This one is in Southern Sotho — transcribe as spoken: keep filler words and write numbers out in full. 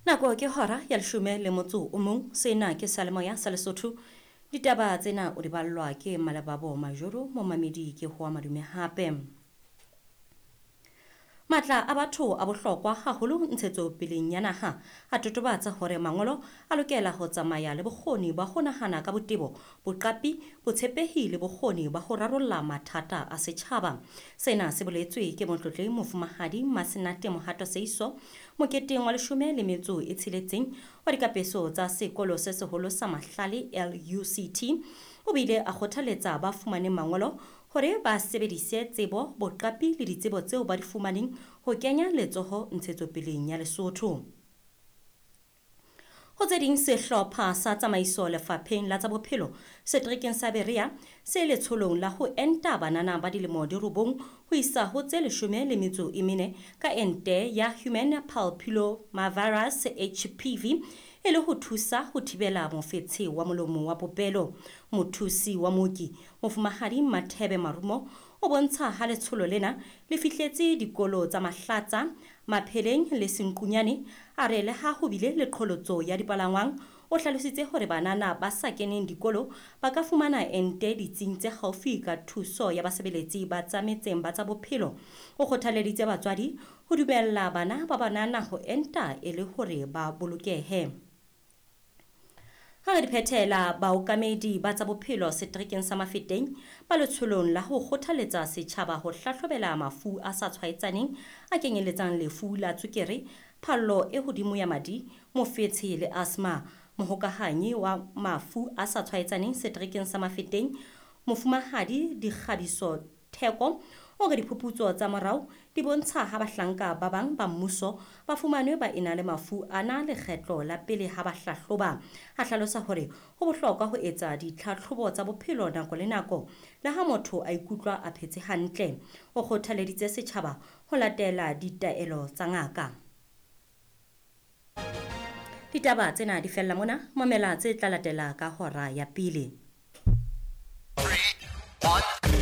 Nako ke hora ya leshome le motso o mong. Sena ke Seyalemoya sa Lesotho. Ditaba tsena o di ballwa ke Malebabo Majoro, momamedi ke Hoa Madume hape. Matla a batho a bohlokwa haholo ntshetsopeleng ya naha a totobatsa hore mangolo a lokela ho tsamaya le bokgoni ba ho nahana ka botebo, boqapi, botshepehi le bokgoni ba ho rarolla mathata a setjhaba. Sena se boletswe ke motlotlehi Mofumahadi Masenate Mohato Seiso moketeng wa leshome le metso e tsheletseng wa dikapeso tsa sekolo se seholo sa Mahlale L U C T. O bile a kgothaletsa ba fumaneng mangolo hore ba sebedise tsebo, boqapi le ditsebo tseo ba di fumaneng ho kenya letsoho ntshetsopeleng ya Lesotho. Ho tse ding, sehlopha sa tsamaiso lefapheng la tsa bophelo seterekeng sa Berea se letsholong la ho enta banana ba dilemo di robong ho isa ho tse leshome le metso e mene ka ente ya Human Papillomavirus H P V e le ho thusa ho thibela mofetshe wa molomo wa popelo. Mothusi wa mooki Mofumahadi Mathebe Marumo o bontsha ha letsholo lena le fihletse dikolo tsa Mahlatsa, Mapheleng le Senqunyane. A re le ha ho bile le qholotso ya dipalangwang, o hlalositse hore banana ba sa keneng dikolo ba ka fumana ente ditsing tse haufi ka thuso ya basebeletsi ba tsa metseng ba tsa bophelo. O kgothaleditse batswadi ho dumella bana ba banana ho enta e le hore ba bolokehe. Ha re di phethela, baokamedi ba tsa bophelo seterekeng sa Mafeteng ba letsholong la ho kgothaletsa setjhaba ho hlahlobela mafu a sa tshwaetsaneng a kenyeletsang lefu la tswekere, phallo e hodimo ya madi, mofetshe le asthma. Mohokahanyi wa mafu a sa tshwaetsaneng seterekeng sa Mafeteng, Mofumahadi Dikgabiso Theko, o re diphuputso tsa morao di bontsha ha bahlanka ba bang ba mmuso ba fumanwe ba ena le mafu ana lekgetlo la pele ha ba hlahloba. A hlalosa hore ho bohlokwa ho etsa ditlhatlhobo tsa bophelo nako le nako le ha motho a ikutlwa a phetse hantle. O kgothaleditse setjhaba ho latela ditaelo tsa ngaka. Ditaba tsena di fella mona, mamela tse tla latela ka hora ya pele. Three, one.